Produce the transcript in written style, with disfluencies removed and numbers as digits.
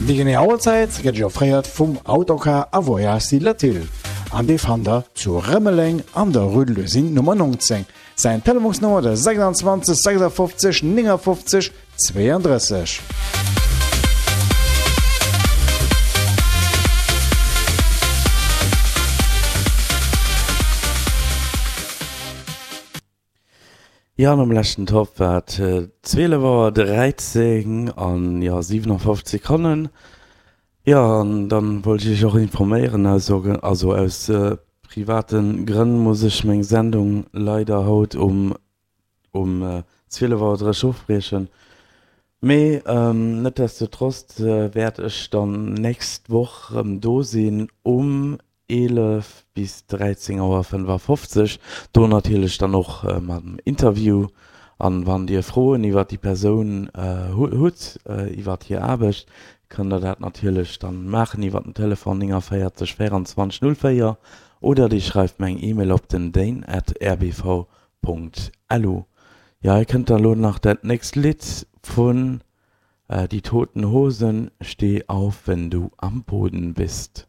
Déi genee Auerzäit gëtt Iech offréiert vum Autocar a Voyage Latil an dee fannt der zu Rëmeleng an der Rue de l'Usine Nummer 19. Säin Telefonsnummer de 26 56 59 32. Jo, an am leschten Topp war et 12 Auer 13 an jo 57 Sekonnen. Jo, an dann wollt ech iech och informéieren, also also aus private Grënn muss ech meng Sendung leider haut um um 12 Auer 30 ofbriechen. Mee netdestotrotz wäert ech dann nächst Woch rëm do sinn um 11 bis 13 Auer 55, do natierlech dann och mam Interview. An wann dir Froen iwwert déi Persoun hutt, iwwert hir Aarbecht, kënnt der dat natierlech dann maachen iwwert den Telefon 49 24 04 oder dir schreift mir eng Email op den dane at rbv.lu. Jo, hei kënnt dann elo nach dat nächst Lidd vun Die Toten Hosen, Steh auf, wenn du am Boden bist.